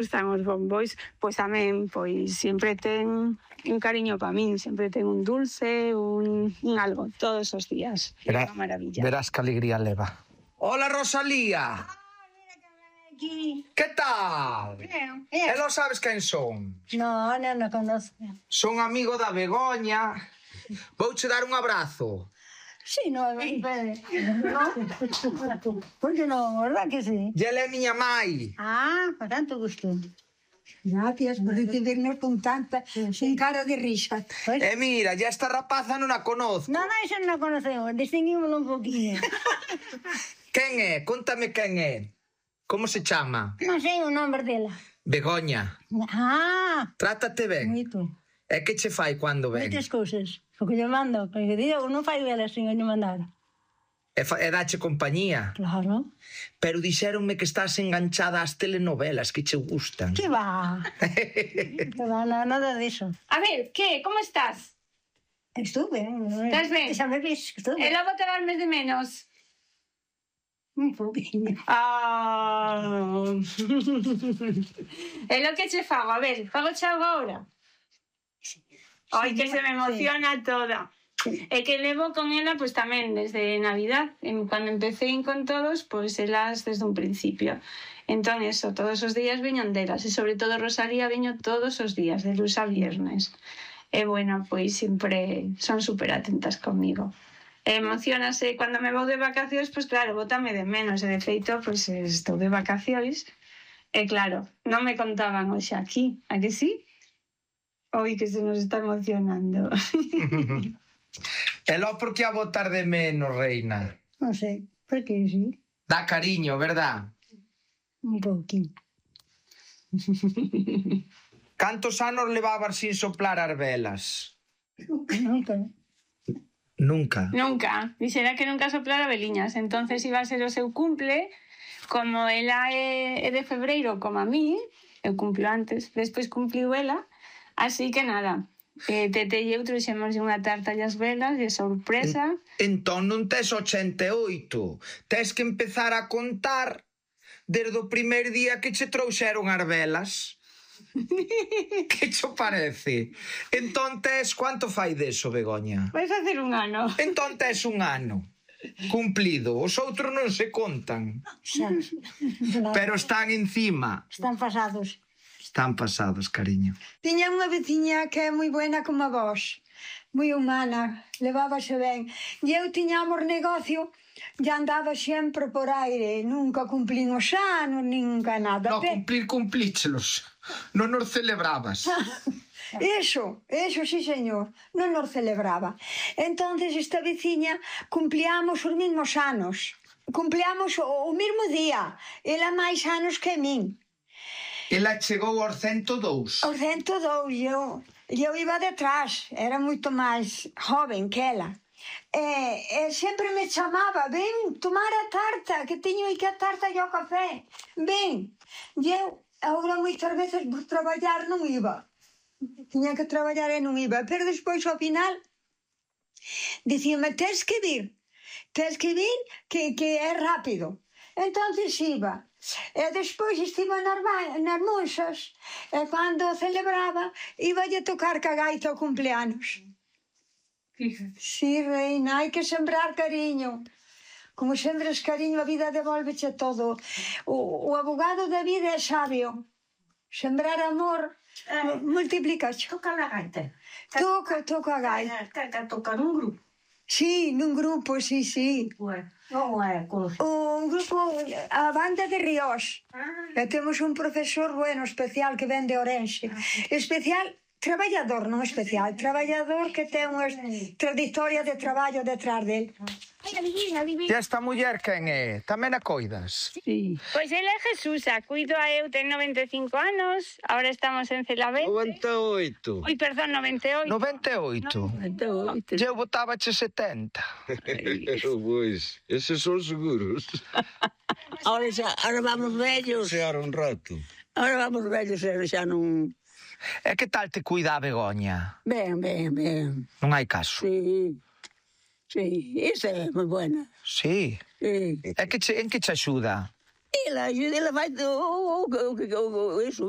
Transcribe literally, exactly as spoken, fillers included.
Gustan os bombois, pois tamén, pois sempre ten un cariño para min, sempre ten un dulce, un, un algo, todos os días. É unha maravilla. Verás que alegría leva. Hola, Rosalía. ¿Qué tal? Bien, E bien. lo sabes quen son? No, no, no conozco. Son amigo da Begoña. Vouche dar un abrazo. Sí, no, espere. No, ¿por qué no? ¿Verdad que sí? E ela é miña mai. Ah, con tanto gusto. Gracias por recibirnos con tanta, sin cara de risa. Pues, E mira, ya esta rapaza non a conozco. no, no, eso no lo conocemos. Distinguímoslo un poquillo. Quen é? Contame quen é. Como se chama? No sé o nombre dela. Begoña. Ah, Trátate ben. moito. E que che fai cando ven? Moitas cousas. O que lle mando. Que digo, non fai vela sin lle mandar. E, fa, e dache compañía. Claro. Pero dixéronme que estás enganchada ás telenovelas que che gustan. Que va? Que va, no, nada de eso. A ver, que? Como estás? Estuve. Estás ben? Xa me vis, estuve. E logo te vas mes de menos? Un poquinho. Ah. É lo que che fago, a ver, fago che algo agora. Ai, que se me emociona toda. É que levo con ela, pois tamén, desde Navidad. Cando empecé con todos, pois elas desde un principio. Entón, eso, todos os días veñon delas. E sobre todo Rosalía veño todos os días, de luns a viernes. E, bueno, pois sempre son super atentas comigo. E emocionase cando me vou de vacacións, pois claro, bótame de menos. E de feito, pois estou de vacacións. E claro, non me contaban hoxe aquí, a que sí? Oi, que se nos está emocionando. E lo por que a botar de menos, reina? Non sei, por que sí? Dá cariño, verdad? Un pouquinho. Cantos anos levabas sin soplar as velas? Nunca. Nunca. Nunca. Dixera que nunca soplara veliñas. Entonces iba a ser o seu cumple. Como ela é de febreiro, como a mí, eu cumplo antes, despois cumpliu ela. Así que nada, eh, Tete e eu trouxemos unha tarta e as velas de sorpresa. Entón non tes ochenta e oito. Tes que empezar a contar desde o primer día que che trouxeron as velas. Que cho parece? Entón tes... Quanto fai deso, Begoña? Vai facer un ano. Entón tes un ano cumplido. Os outros non se contan. Xa. Pero están encima. Están pasados. Están pasados, cariño. Tiña unha veciña que é moi buena como a vos, moi humana, levábase ben. E eu tiñamos negocio e andaba sempre por aire, nunca cumplín os anos, nunca nada. No, cumplir, cumplíchelos. Non nos celebrabas. Eso, eso, sí, señor, non nos celebraba. Entonces esta veciña cumplíamos os mesmos anos, cumplíamos o, o mesmo día, ela máis anos que min. Ela chegou aos cento e dous. Aos cento e dous, eu, eu iba detrás, era moito máis joven que ela. E, e sempre me chamaba, ven, tomar a tarta, que teño aí que a tarta e o café, ven. E eu, agora moitas veces por traballar non iba. Tiña que traballar e non iba, pero despois ao final dicíame, tens que vir, tens que vir que, que é rápido. Entonces iba. E despois estive nas, nas monxas e cando celebraba iba a tocar ca gaita o cumpleanos. Sí, reina, hai que sembrar cariño. Como sembres cariño, a vida devolveche todo. O, o abogado da vida é sabio. Sembrar amor eh, multiplica. Toca a gaita. Toca, toca a gaita. Toca, toca nun grupo. Sí, nun grupo, sí, sí. Bueno, non é cousa. Un grupo, a banda de Ríos. Ah. E temos un profesor bueno, especial, que ven de Orense. Especial, traballador, non especial. Traballador que ten unha trayectoria de traballo detrás del. Ai, adivina, adivina. E esta muller quen é? Tamén a coidas? Sí. Pois ela é Jesusa, cuido a eu, ten noventa e cinco anos, ahora estamos en Celavente. noventa e oito. Oi, perdón, noventa e oito. noventa e oito. E eu botábache setenta. Pois, eses son seguros. Ahora, xa, ahora vamos vellos. Seara un rato. Ahora vamos vellos e xa non... E que tal te cuida a Begoña? Ben, ben, ben. Non hai caso. Sí. Sí, esa é moi buena. Sí. Sí. E que che, en que che axuda? Ela, ela vai... O, o, o, o, o, eso.